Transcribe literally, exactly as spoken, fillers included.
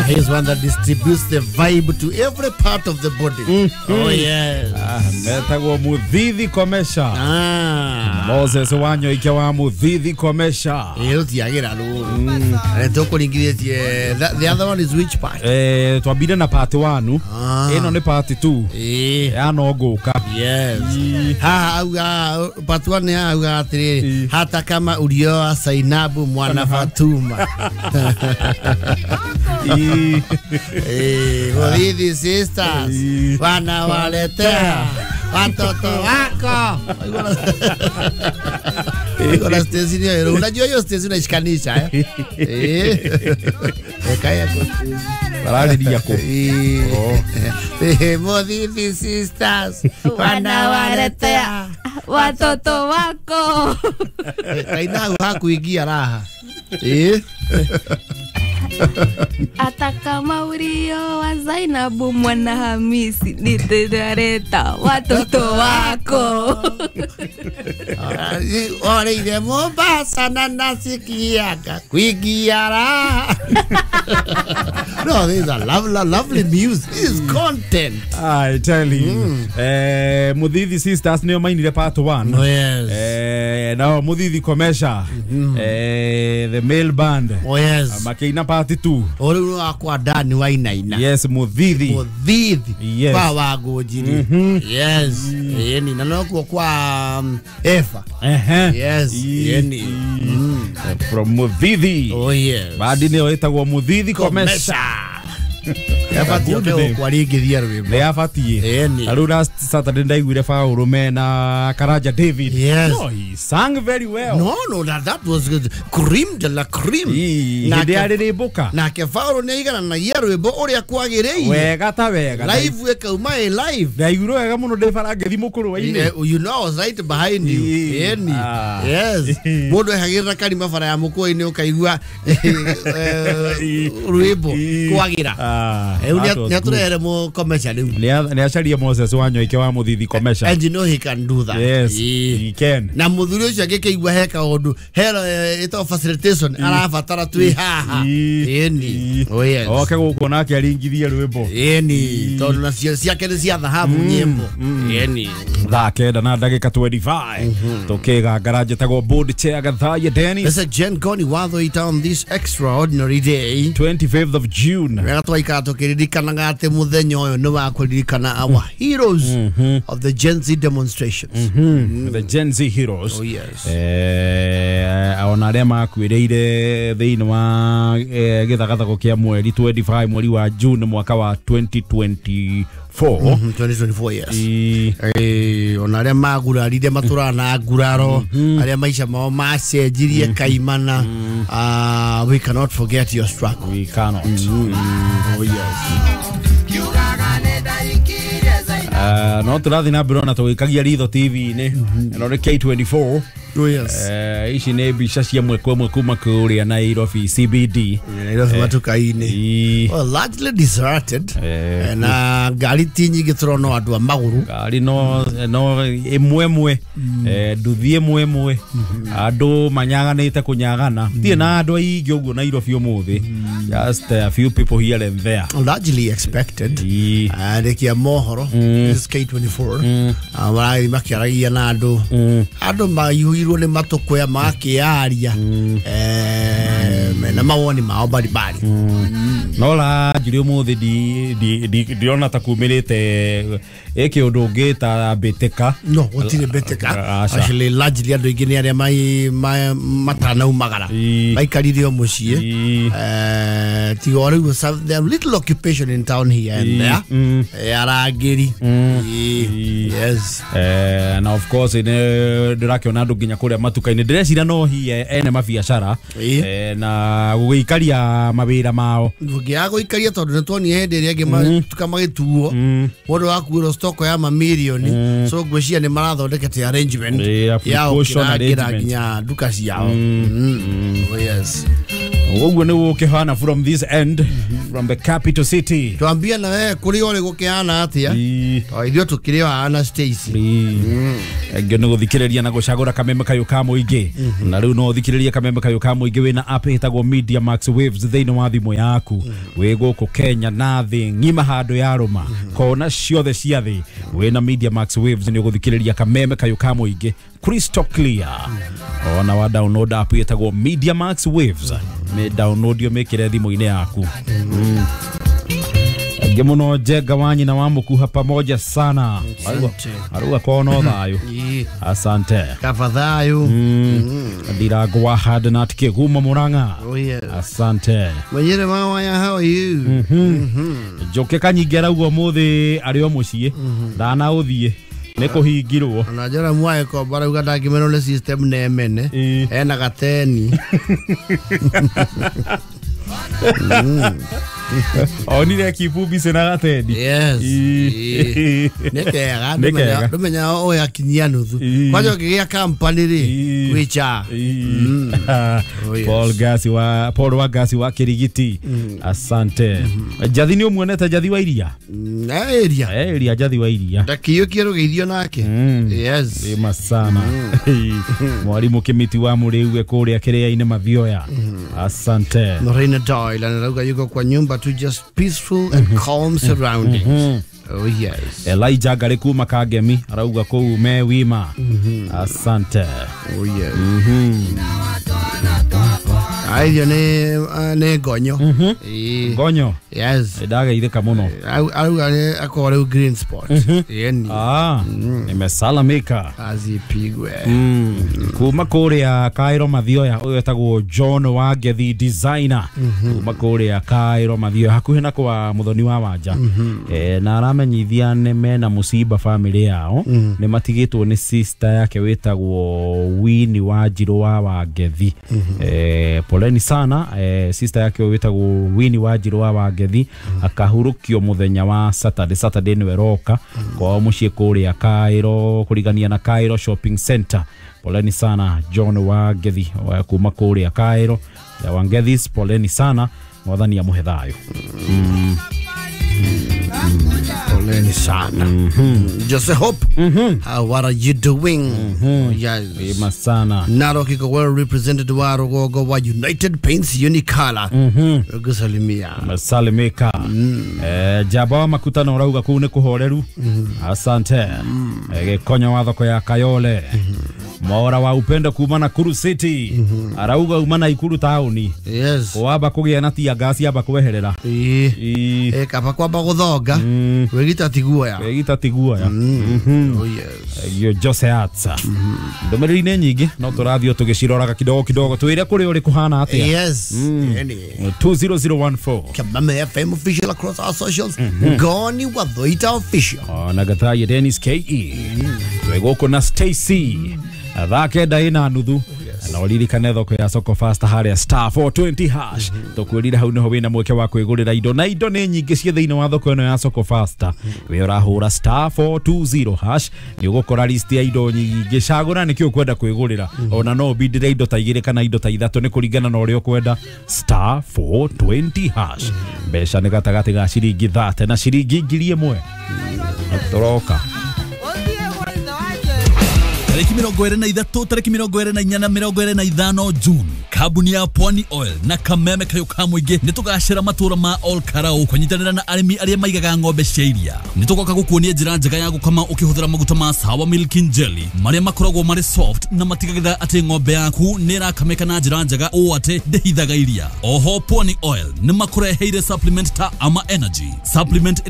He's one that distributes the vibe to every part of the body. Mm-hmm. Oh yes. Ah, metagwo Muthithi Komesha. Ah. Moses Wanyoike wa Muthithi Komesha. Ĩyo tiagĩra rũ. Tũkũringithĩtie the other one is which part? Eh, twambire na part one. Ah. Ĩno nĩ part two. Eh. Ya no ngũka. Yes. Ha auga part one ya auga atĩrĩrĩ hata kama ulioa Sainabu mwana Fatuma. Eh, Muthithi sisters wanawaletea watoto wako. Kuna stesi ni unajua hiyo stesi unaishikanisha eh. Eh. Kaya kwa bararĩria kũ. Eh, Muthithi sisters wanawaletea watoto wako. Kaina hakuingia raha. Eh. Hata kama ulioa Zainabu mwana Hamisi nitaleta watoto wako. Ore Mombasa na nasikiaga kuingia raha. No, this is a lovely, lovely music. This is content. I tell you. Mm. Eh, Muthithi sisters nĩo mainire part one. Oh, yes. Eh, nao Muthithi Komesha. Mm. Eh, the male band. Oh, yes. Makĩina part two. O rĩu wakwa Dani Wainaina. Yes, Muthithi. Muthithi. Yes. Kwa Wangũnjiri. Mm-hmm. Yes. Yeni na nokuo kwa um, Eva. Uh-huh. Yes. Yeni. Mm. From Muthithi. Oh, yes. Bandi nĩyo ĩtagwo Muthithi Komesha. Yabatiĩ oke kwarĩngĩria rwĩmbo. Nĩ yabatiĩ. Ĩni. Na rĩu last Saturday ndaiguire Paul mena Karanja David. Yes. No, he sang very well. No, no, that, that was good. Cream de la cream. Hĩndĩ yarĩrĩmbũka. Nake Paul nĩ aigananagia rwĩmbo ũrĩa kwagĩrĩire. Wega ta wega. Live ĩkauma ĩ live. Ndaiguire wega mũno ndĩ bara ngĩthiĩ mũkũrũ-inĩ. You know, I was right behind you. Ĩni. Yes. Mũndũ ehagĩrĩra karima bara ya mũkũrũ-inĩ ũkaigua rwĩmbo kwagĩra. Nĩ atũrehere Komesha rĩu. Nĩ acarie Moses Wanyoike wa Muthithi Komesha. And you know he can do that. Yes, he can. Na mũthuri ũcio angĩkĩigua he kaũndũ he ĩtagwo facilitation arabatara twĩ haha. Ĩni. Oh yes. Oke gũkũ nake aringithie rwĩmbo. Ĩni. Tondũ nacio ciake nĩ cia thahabu nyĩmbo. Ĩni. Thaa kenda na ndagĩka twenty-five. Tũkĩgangara njĩtagwo board chair Gathaiya Dennis. This is Jen Goni Watho on this extraordinary day. twenty-fifth of June. Wega twaikara tũkĩririkanaga atĩ mũthenya ũyũ nĩ wa kũririkana our heroes of the Gen Z demonstrations. Mm-hmm. Mm. The Gen Z heroes. Oh yes. Eh, ona arĩa makuĩrĩire thĩinĩ wa eh, gĩthagathago kĩa mweri twenty-five mweri wa June mwaka wa twenty twenty-four. Mm-hmm, twenty twenty-four, yes. E... Eh, ona arĩa magurarire matũraga na nguraro, arĩa maica mao macenjirie kaimana. Uh, we cannot forget your struggle. We cannot. Mm-hmm. Oh yes. Uh, no tũrathiĩ na mbere ona tũgĩkagia ritho T V-inĩ ĩno nĩ K twenty-four. Oh yes. Eh, ici nĩ mbica cia ĩmwe kwa ĩmwe kuma kũrĩa Nairobi C B D. Nairobi matuka-inĩ. Well, largely deserted. Eh, na ngari ti nyingĩ tũrona andũ a magũrũ. Ngari no no ĩmwe ĩmwe, eh, nduthi ĩmwe ĩmwe. Andũ manyaganĩte kũnyagana. Tirĩ na andũ aingĩ ũguo Nairobi ũmũthĩ. Just a few people here and there. Largely expected. Andĩki a mohoro. This is K twenty-four. Marathiĩ makĩaragia na andũ. Andũ maiyũirwo nĩ matũkũya makĩaria mena mawoni mao mbalimbali. No la njuri ũmũthĩ ndirona ta kumĩrĩte ĩ kĩũndũ ũngĩta mbĩtĩka. No, gũtirĩ mbĩtĩka. Actually, largely andũ aingĩ nĩ arĩa matanaumagara maikarire o mũciĩ. Tiga o rĩu there are little occupation in town here and there. Arangĩri. Yes. Na of course ndĩrakĩona andũ nginya kũrĩa matuka-inĩ ndĩreciria no hihi ene mabiacara na gũgĩikaria mawĩra mao. Ndũngĩaga gũikaria tondũ nĩtuonire hĩndĩ ĩrĩa ĩngĩ matuka magĩtuo mũndũ akuĩrwo stock ya mamirioni, so ngwĩciria nĩ marathondekete arrangement ya gũkĩrangĩra nginya nduka ciao. Oh yes. Ũguo nĩ gũkĩhana from this end, from the capital city. Twambia na we kũrĩ ũrĩ gũkĩhana atĩa? To ithuĩ tũkĩrĩ o haha na Stacy. Engĩ nĩ gũthikĩrĩria na gũcagũra kameme kayũ ka mũingĩ. Na rĩu no ũthikĩrĩrie kameme kayũ ka mũingĩ wĩna app ĩtagwo Media Max Waves thĩinĩ wa thimũ yaku. Wĩ gũkũ Kenya na thĩ ng'ima handũ ya rũma kona ciothe cia thĩ wĩna Media Max Waves nĩ ũgũthikĩrĩria kameme kayũ ka mũingĩ crystal clear. Ona wa download app ĩtagwo Media Max Waves, me download yo mĩkĩre thimũ-inĩ yaku. Angĩ mũno Njenga wa nyina wa mũkuha pamoja sana. Aruga kono thayũ. Asante. Kaba thayũ. Ndirango wa Hadnat Kĩgumo Murang'a. Oh yes. Asante. Mwenyere mawaya, how are you? Njoke Kanyingĩ arauga ũmũthĩ arĩ o mũciĩ ndana ũthiĩ nĩ kũhingirwo. Ona njora mwae ko barauga ndangĩmenwo nĩ system nemene ena gateni. Onire kibubi sena gatendi. Yes. Nĩ kega ndũmenya ũyũ akinyia nuthu kwanja ũngĩgĩa company rĩ gwĩcha. Paul Gasi wa Paul wa Gasi wa Kirigiti. Asante. Njathi nĩ ũmuonete Njathi wa iria? Eh iria. Eh iria Njathi wa iria. Ndakĩiyũkie rũgeithio nake. Yes. Ĩ sana. Mwarimu Kimiti wa Mũrĩu kũrĩa kĩrĩa-inĩ Mathioya. Asante. Lorena Doyle anarauga yuko kwa nyumba to just peaceful and calm surroundings. Mm -hmm. Oh yes. Elijah Gari kuma Kagemi arauga kuu me wima. Mm -hmm. Asante. Oh yes. Mm -hmm. Aithio ne ne gonyo. Mm -hmm. Gonyo. Yes. Ndageithĩka mũno. Arauga nĩ akorwo rĩu green spot. Mm -hmm. Yeni. Ah, mm. Nimesalamika. Azipigwe. Mm. Kuma kũrĩa Cairo Mathioya ũyũ etagwo John Wangethi designer. Mm -hmm. Kuma kũrĩa Cairo Mathioya hakuhĩ na kwa Muthoni wa Wanja. Mm -hmm. Eh, na aramenyithia nĩ mena mũciba family yao. Mm -hmm. Nĩ matigĩtwo nĩ sister yake wĩtagwo Winnie Wanjirũ wa Wangethi. Mm -hmm. Eh, poleni sana eh, sister yake wĩtagwo Winnie Wanjirũ wa Wangethi mm -hmm. akahurukio muthenya wa Saturday. Saturday nĩwe roka mm -hmm. kwao mũciĩ kũrĩa Cairo kũrigania na Cairo Shopping Center. Poleni sana John Wangethi kuma kũrĩa Cairo ya Wangethis, poleni sana, mwathani amũhe thayũ. Mm. Poleni sana. Mm -hmm. Jose Hope. Mm -hmm. Uh, what are you doing? Mm -hmm. Yes. Ima sana. Narok iko well represented wa Rugogo wa United Paints Unicolour. Mm -hmm. Gusalimia. Salimika. Mm. Eh, jaba wa makutano rauga kuu nĩ kũhoreru. Mm -hmm. Asante. Mm. Eh, Gĩkonyo wa thoko ya Kayole. Mm -hmm. Mora wa upendo kuma Nakuru City. Mm -hmm. Arauga uma Nakuru taoni. Yes. Kwamba kũgĩa na tia gasi amba kweherera. Ĩĩ. Eh, kaba kwamba gũthonga. Mm. Wĩgita tiguoya. Wĩgita tiguoya. Mm. Mm -hmm. Oh yes. Yo Jose Atsa. Mm -hmm. Ndũmĩrĩri-inĩ nyingĩ no tũrathiĩ tũgĩciroraga kidogo kidogo twĩre kũrĩ ũrĩ kũhana atĩa. Yes. Mm. Any. two zero zero one four. Kameme F M official across our socials. Mm -hmm. Goni Wathoita official. Ona Gathaye Dennis K E. Mm. Twĩ gũkũ na Stacy. Thaa kenda ĩna nuthu. Na ũririkane thoko ya Soko Fasta harĩa star four twenty hash. Mm -hmm. Tũkwĩrire hau nĩho wĩna mweke wa kwĩgũrĩra indo na indo nĩ nyingĩ ciĩ thĩinĩ wa thoko ĩno ya Soko Fasta. Wĩ ũrahũra star four two zero hash nĩ ũgũkora list ya indo nyingĩ, cagũra nĩkĩ ũkwenda kwĩgũrĩra. Mm -hmm. Ona no ũbindĩre indo ta igĩrĩ kana indo ta ithatũ nĩ kũringana na ũrĩa ũkwenda. Star four twenty hash. Mm -hmm. Mbeca nĩ gatagatĩ ga ciringi thate na ciringi ngiri ĩmwe. Tũroka. Tariki mirongo ĩrĩ na ithatũ, tariki mirongo ĩrĩ na inya na mirongo ĩrĩ na ithano June, kambuni ya Pwani Oil na Kameme kayũ ka mũingĩ nĩ tũgacĩra matũra ma Ol Karau kũnyitanĩra na arĩmi arĩa maigaga ng'ombe cia iria. Nĩ tũgoka gũkuonia njĩra njega ya gũkama ũkĩhũthĩra maguta ma Sawa Milking Jelly marĩa makoragwo marĩ soft na matigagĩrĩra atĩ ng'ombe yaku nĩ ĩrakamĩka na njĩra njega ũũ atĩ ndĩhithaga iria. Oho Pwani Oil nĩ makũreheire supplement ta Ama Energy, supplement